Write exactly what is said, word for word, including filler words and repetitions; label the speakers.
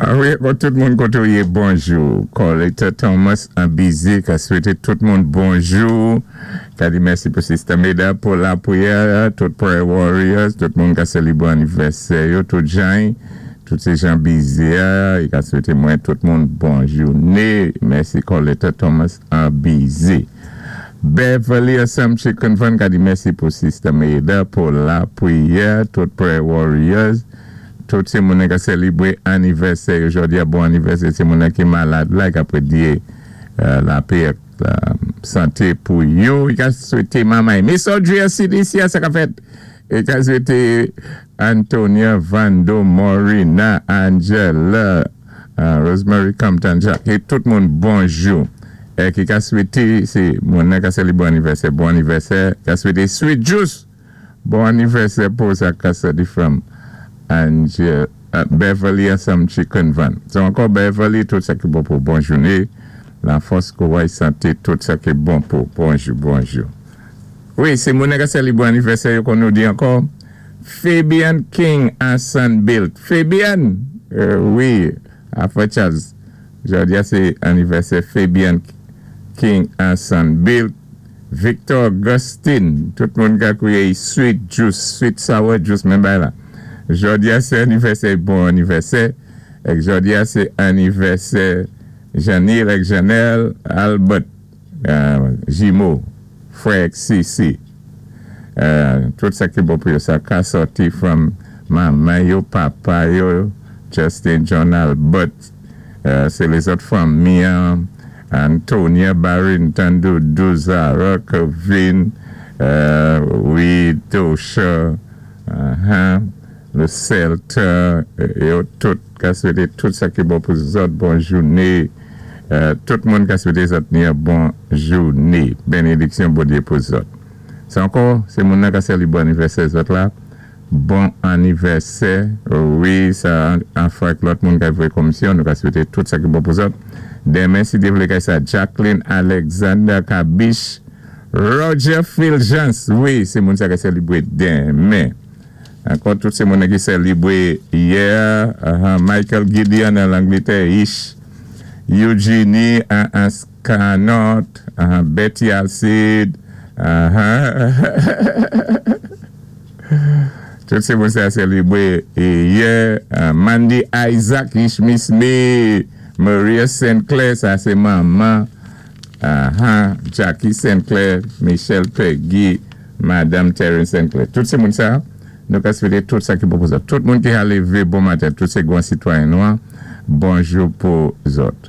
Speaker 1: Ah wi, bon, tout moun koté ou yé, bonjou. Coletta Thomas an Bize, ka swété tout moun bonjou. Ka di mèsi pou Sister Meda pou lapwiyè, tout prayer warriors, tout moun ka sélibwé anivèsè yo, tout jan, tout sé jan Bize, i ka swété mwen tout moun bon jouné. Mèsi Coletta Thomas an Bize. Beverly Assam Chicken Fund ka di mèsi pou Sister Meda pou lapwiyè, tout prayer warriors, tout sé moun ka sélibwé anivèsè jòdi a bon anivèsè, sé moun ki malad la ka pwédyé euh, lapè euh, santé pou yo. I ka swété manman. Miss Audrey C D C, sa ka fèt. I ka swété Antonia Vando Morina, Angela, euh, Rosemary Compton Jacques, é tout moun bonjou. É ki ka swété, sé moun ka sélibwé anivèsè, bon anivèsè, ka swété Sweet Juice, bon anivèsè pou sa ka soti from Angel, uh, Beverly Assam Chicken Van. So ankò Beverly, tout sa ki bon pou bon jouné, lafòs, kouway, santé, tout sa ki bon pou bonjou, bonjou. Wi, sé moun ka sélibwé anivèsè yo kon nou di ankò, Fabian King an Sunbuilt. Fabian, euh, wi, afè Charles, jòdi a sé anivèsè Fabian King an Sunbuilt. Victor Augustine, tout moun ka kwiyé Sweet Juice, Sweet Sour Juice, menm bay la. Jòdi a sé anivèsè, bon anivèsè. Ek jòdi a sé anivèsè Janil ek Janelle Albert euh, Jimo, frè Sisi. Euh, tout sa ki bon pou yo, sa ka sòti from manman yo, papa yo, Justin John Albert, euh, sé lézòt fanmi, Antonia Barrington, Doudou, Zara, Kevin, euh, wi, Tosha, uh-huh, le Celta, yo tout, ka swété tout sa ki bon pou zòt, bon jouné, euh, tout moun ka swété zòt ni bon jouné, bénédiksyon Bondyé pou zòt. Sé ankò, sé moun nan ka sélibwé anivèsè zòt la, bon anivèsè, wi, sa an fwa ak lòt moun ka vwé komisyon, nou ka swété tout sa ki bon pou zòt. Denmen, si Dye vlé kay sa, Jacqueline Alexander Kabish, Roger Fulgence, wi, sé moun sa ka sélibwé denmen. Ankò tout sé moun ki sélibwé yè, uh, Michael Gideon an Langlétè, Ish, Eugenie an Ascanot, uh, Betty Alcide, uh, tout sé moun sa sélibwé yè, uh, Mandy Isaac, Ish Miss Me, Maria Saint Clair, sa sé manman, uh, Jackie Saint Clair, Michelle Peggy, Madame Terence Saint Clair. Tout sé moun sa, nou ka swété tout sa ki bon pou zòt. Tout moun ki a lévé bon maten, tout sé gwan sitwayen nwa, bonjou pou zòt.